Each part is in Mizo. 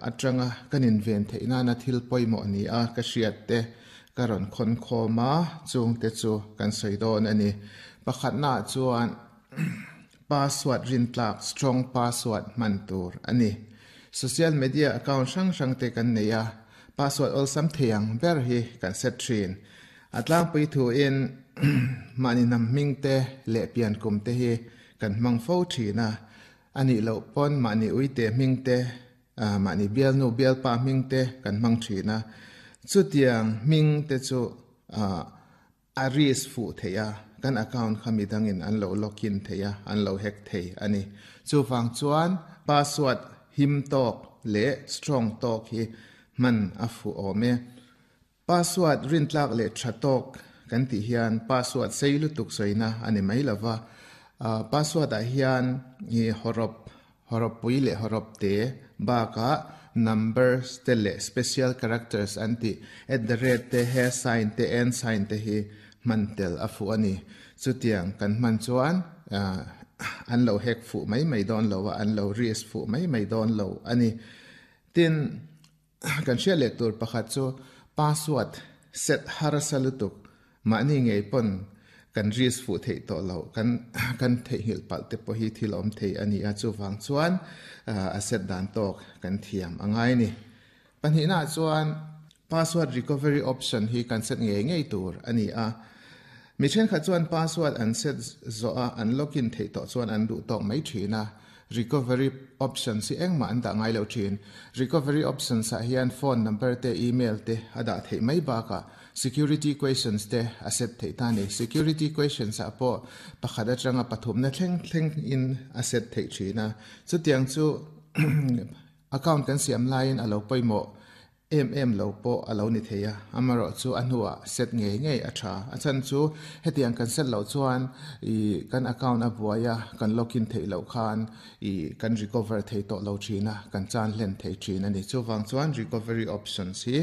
atanga kan inven theih nana thil pawimawh ni a ka hriat te ka rawn khawn khawm a, chungte chu kan sawi dawn a ni. Pakhatna ah chuan password rintlak, strong password, hman tur a ni. Social media account hrang hrang te kan nei a, password awlsam thei ang ber hi kan set thin. A tlangpui thuin mahni hnam hming te leh pian kum te hi kan hmang fo thin a, a nih loh pawn mahni uite hming te, mahni bialnu bialpa hming te kan hmang thin a. Chutiang hming te chu a risk fuh theih a, kan account kha midangin an lo login thei a, an lo hack thei a ni. Chuvang chuan password him tawk leh strong tawk hi hman a fuh awm e. Password rintlak leh tha tawk kan tih hian password sei lutuk sawina a ni mai lova, password ah hian i hawrawp, hawrawp pui leh hawrawp te bakah numbers te leh special characters an tih at the rate te, hash sign te, and sign te hi hman tel a fuh a ni. Chutiang kan hman chuan an lo hack fuh mai mai dawn lo a, an lo risk fuh mai mai dawn lo a ni. Tin. Kan hriat leh tur pakhat chu password set harsa lutuk mahni ngei pawn kan risk fuh theih tawh loh kan kan theihnghilh palh te pawh hi thil awm thei a ni a, chuvang chuan a set dan tawk kan thiam a ngai a ni. Pahnihnaah chuan password recovery option hi kan set ngei ngei tur a ni a, mi thenkhat chuan password an set zawh a an login theih tawh chuan an duh tawk mai thin a, Recovery options hi engmah an dah ngai lo thin. Recovery options ah hian phone number te, email te a dah theih mai bakah security questions te a set theih ta a ni. Security questions ah pawh pakhat atanga pathumna thleng thleng in a set theih thin a. Chutiang chu account kan siam laiin a lo pawimawh Em em lo pawh a lo ni thei a, amaherawh chu a hnuah set ngei ngei a tha. A chhan chu hetiang kan set loh chuan ih kan account a buai a, kan login theih loh khan ih kan recover thei tawh lo thin a, kan chan hlen thei thin a ni. Chuvang chuan recovery options hi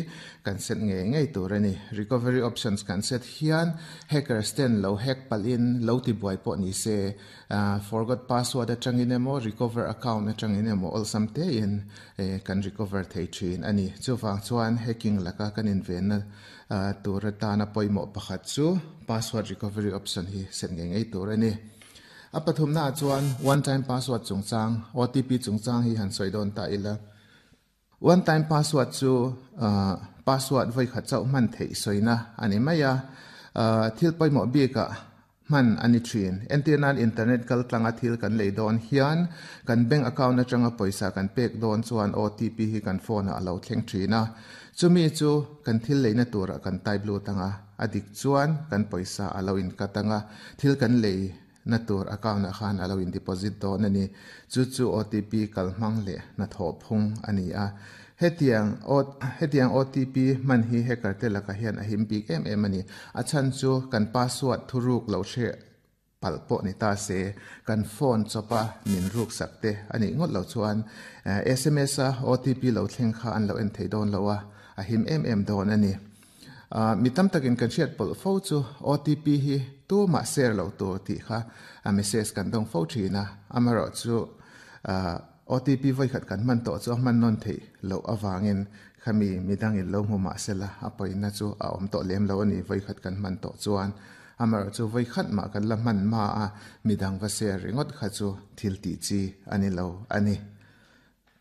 kan set ngei ngei tur a ni. Recovery options kan set hian hackers ten lo hack palhin lo ti buai pawh ni se, Forgot password atangin emaw recover account atangin emaw awlsam tein kan recover thei thin a ni. Chuvang chuan hacking laka kan invenna tur atana pawimawh pakhat chu password recovery option hi set ngei ngei tur a ni. A pathumnaah chuan one time password chungchang, OTP chungchang hi han sawi dawn ta ila. One time password chu password vawikhat chauh hman theih sawina a ni mai a, thil pawimawh bikah hman a ni thin. Entir nan internet kal tlanga thil kan lei dawn hian kan bank account atanga pawisa kan pek dawn chuan OTP hi kan phone ah a lo thleng thin a, chumi chu kan thil leina turah kan type lut anga, a dik chuan kan pawisa a lo in cut anga, thil kan lei Na tur account ah khan a lo in deposit dawn a ni. Chu chu OTP kal hmang leh hnathawh phung a ni a. Hetiang hetiang OTP hman hi hacker te lakah hian a him bik em em a ni. A chhan chu kan password thuruk lo hre palh pawh ni ta se, kan phone chawpa min ruk sak te a nih ngawt lo chuan sms a OTP lo thleng kha an lo en thei dawn lo a, a him em em dawn a ni. Mi tam takin kan hriat pawlh fo chu OTP hi tumah share loh tur tih kha message kan dawng fo thin a, amaherawh chu OTP vawikhat kan hman tawh chu a hman nawn theih loh avangin khami midangin lo hmu mah sela a pawina chu a awm tawh lem lo a ni vawikhat kan hman tawh chuan. Amaherawh chu vawikhat mah kan la hman hma a midang va share ringawt kha chu thil tih chi a ni lo a ni.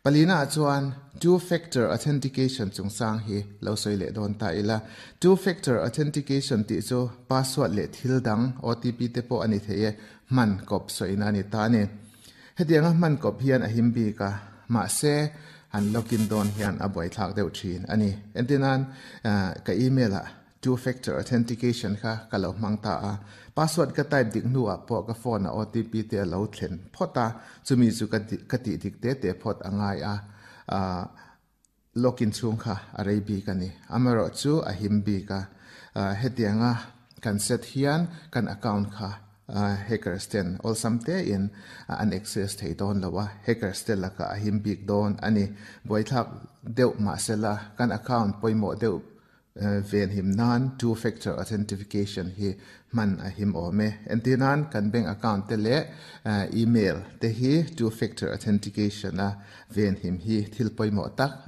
Palina ah chuan Two Factor Authentication chungchang hi lo sawi leh dawn ta ila. Two Factor Authentication tih chu password leh thil dang, OTP te pawh a ni thei e, hman kawp sawina a ni ta a ni. Hetianga hman kawp hian a him bik a, mahse han login dawn hian a buaithlak deuh thin a ni. Entirnan, ka email ah Two factor authentication kha ka lo hmang ta a, password ka type dik hnuah pawh ka phone ah OTP te a lo thlen phawt a, chumi chu ka ka tih dik te te phawt a ngai a, ah login chhung kha a rei bik a ni. Amaherawh chu a him bik a, hetianga kan set hian kan account kha Hackers ten awlsam tein an access thei dawn lo a, hackers te lakah a him bik dawn a ni. Buaithlak deuh mahsela kan account pawimawh deuh Venhim nan two factor authentication hi hman a him awm e. Entir nan kan bank account te leh email te hi two factor authentication a venhim hi thil pawimawh tak a.